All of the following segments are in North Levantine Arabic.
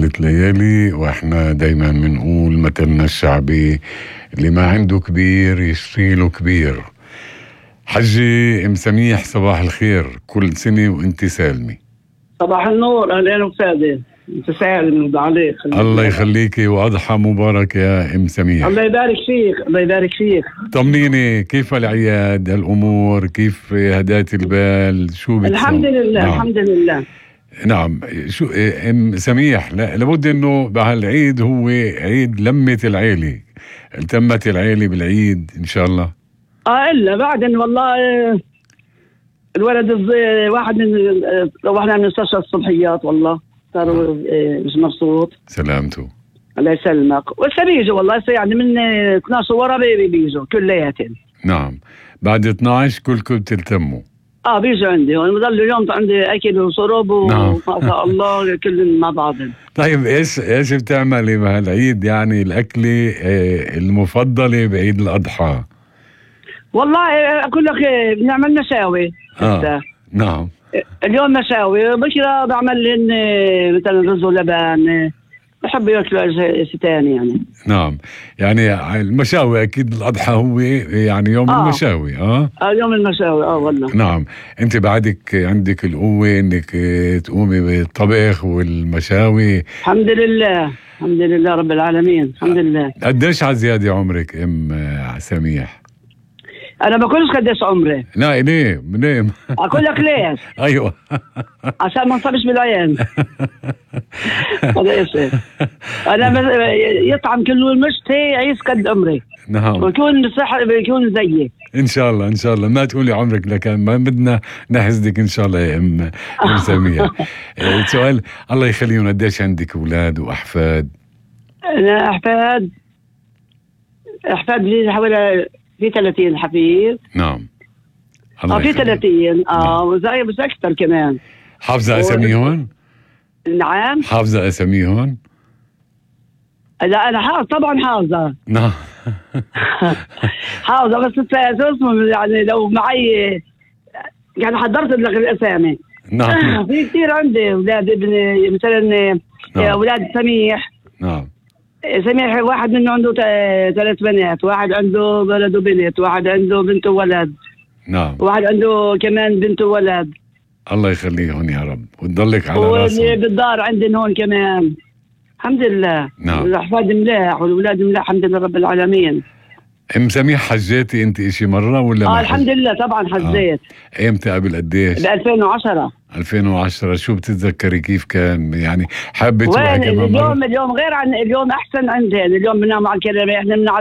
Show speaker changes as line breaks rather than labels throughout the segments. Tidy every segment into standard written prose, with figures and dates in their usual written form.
3 ليالي، واحنا دايما بنقول مثلنا الشعبي اللي ما عنده كبير يشتري له كبير. حجي ام سميح صباح الخير، كل سنة وانت سالمة.
صباح النور، اهلا وسهلا. انت سالم عليك.
الله يخليكي واضحى مبارك يا ام سميح.
الله يبارك فيك، الله يبارك فيك.
طمنيني كيف العياد، الامور كيف، هدات البال شو بتسوي؟
الحمد لله.
نعم.
الحمد لله.
نعم. شو ام سميح، لابد انه بهالعيد هو عيد لمة العيلة، التمت العيلة بالعيد ان شاء الله.
الا بعدين والله الولد واحد من روحنا من مستشفى الصبحيات، والله صار مش مبسوط.
سلامته.
الله يسلمك. ولسه بيجوا والله، يعني من 12 ورا بيجوا كلياتهم.
نعم، بعد 12 كلكم بتلتموا.
بيجوا عندي ونضل اليوم عندي اكل وشرب
نعم.
وما شاء الله كلهم مع بعضهم.
طيب ايش بتعملي بهالعيد، يعني الاكله المفضله بعيد الاضحى؟
والله اقول لك بنعمل مشاوي.
نعم.
اليوم مشاوي، بكره بعمل لهم مثلا رز ولبن، بحب ياكلوا شيء ثاني يعني.
نعم، يعني المشاوي اكيد الاضحى هو يعني يوم المشاوي.
يوم المشاوي والله.
نعم. انت بعدك عندك القوه انك تقومي بالطبخ والمشاوي.
الحمد لله، الحمد لله رب العالمين، الحمد لله.
قديش على زياده عمرك ام سميح؟
انا بقولش قديش عمري.
لا ليه
اقول لك ليش.
ايوه
عشان ما نصبش بالعين. هذا ايش؟ انا يطعم كله المشتي يعيش قد عمري.
نعم.
ويكون صح، بيكون زيي
ان شاء الله ان شاء الله. ما تقولي عمرك لكن ما بدنا نحسدك ان شاء الله يا ام سميح. سؤال، الله يخليهم، قديش عندك اولاد واحفاد؟
انا احفاد لي حوالي في 30 حفيد.
نعم.
في 30. وزي بس اكثر كمان.
حافظه اساميهم؟
نعم.
حافظه اساميهم؟
لا انا طبعا حافظه.
نعم.
حافظه، بس اسمه يعني لو معي يعني حضرت لك الاسامي.
نعم.
في كثير عندي اولاد، ابن مثلا اولاد سميح.
نعم.
سميح واحد منه عنده 3 بنات، واحد عنده ولد وبنت، واحد عنده بنت وولد.
نعم.
واحد عنده كمان بنت وولد.
الله يخليهم يا رب وتضلك على راسهم.
واللي بالدار عندنا هون كمان الحمد لله.
نعم.
الاحفاد ملاح والولاد ملاح الحمد لله رب العالمين.
ام سميح، حجيتي انت اشي مره ولا ما
الحمد لله طبعا حجيت.
ايمتى؟ قبل قديش؟
ب 2010.
2010. شو بتتذكري كيف كان يعني؟ حابه تروحي كمان
اليوم غير عن اليوم، احسن عندنا. اليوم بننام على الكرامه، احنا بننام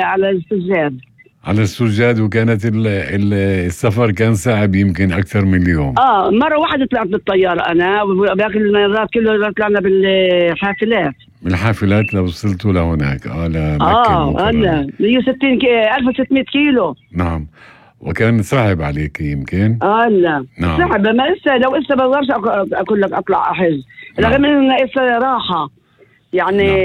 على السجاد.
على السجاد. وكانت السفر كان صعب يمكن اكثر من اليوم.
مره واحدة طلعت بالطياره انا، وباقي المرات كله طلعنا بالحافلات.
بالحافلات لو وصلتوا لهناك لمكة.
هلا 1600 كيلو.
نعم. وكان صعب عليك يمكن.
لا
نعم.
صعب، ما لو بقدرش اقول لك اطلع احج، رغم انه راحه يعني. نعم.